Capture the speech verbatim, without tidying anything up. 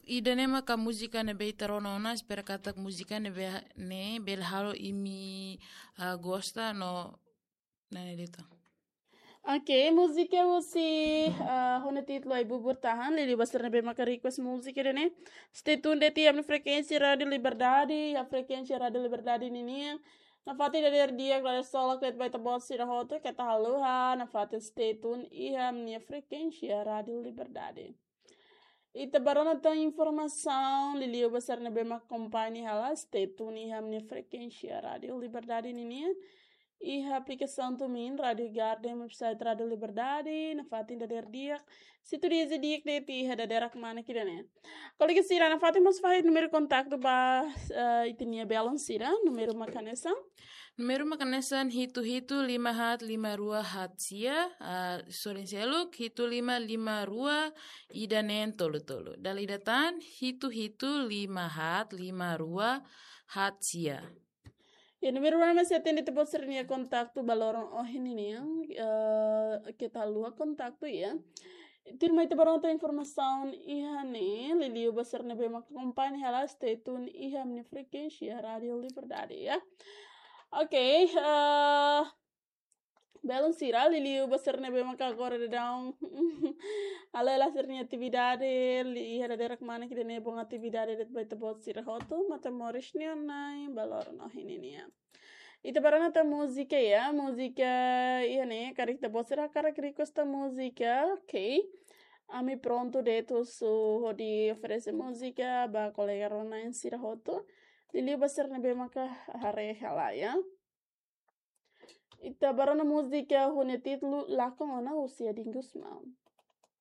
Ida-ne'e maka múzika ne'ebé ita rona ona, espera katak múzika ne'ebé ne'e bele halo imi, ah, gosta no nane dita. Ok, múzika husi, ah, ho nia títulu Ai-Bubur Tahan, liuliu ba sira ne'ebé maka request múzika ida-ne'e. Stay tune de'it iha ami-nia frekuénsia Rádiu Liberdade, iha frekuénsia Rádiu Liberdade ninian. Nafatin dadeer di'ak, dadeer solok de'it ba ita-boot sira hotu, keta haluha, nafatin stay tune iha ami-nia frekuénsia Rádiu Liberdade. Ita bá rona tan informasaun, liuliu ba sira ne'ebé mak akompaña hela, stay tune iha ami-nia frekuénsia Rádiu Liberdade ninian. Iha aplikasaun TuneIn, Rádiu Garden, website Rádiu Liberdade, nafatin dadeer di'ak. Situdiaza di'ak de'it iha dadeer kmanek ida-ne'e. Kolega sira, nafatin mós fahe númeru kontaktu ba, eh, ita-nia belun sira, númeru mak hanesan. Númeru mak hanesan hitu hitu lima haat lima rua haat sia, ah, sorin seluk, hitu lima lima rua ida neen tolu tolu. Dala ida tan, hitu hitu lima haat lima rua haat sia. Ya, númeru rua ne'e mak sei atende ita-boot sira-nia kontaktu ba loron ohin ninian, eh, keta haluha kontaktu ya. Tuirmai ita bá rona tan informasaun iha ne'e, liuliu ba sira ne'ebé mak akompaña hela, stay tune iha ami-nia frekuénsia Rádiu Liberdade ya. Ok, eh, belun sira, liuliu ba sira ne'ebé mak agora daudaun halo hela sira-nia atividade, liuliu iha dadeer kmanek ida-ne'e, bom atividade de'it ba ita-boot sira hotu, Matamoros nia Nain, ba loron ohin ninian. Ita bá rona tan múzika ya, múzika iha ne'e, karik ita-boot sira hakarak request tan múzika, ok. Ami prontu de'it husu hodi oferese múzika ba kolega rona-na'in sira hotu. Liuliu ba sira ne'ebé maka haree hela ya. Ita bá rona múzika ho nia títulu Lakon Ona husi Edin Gusmão.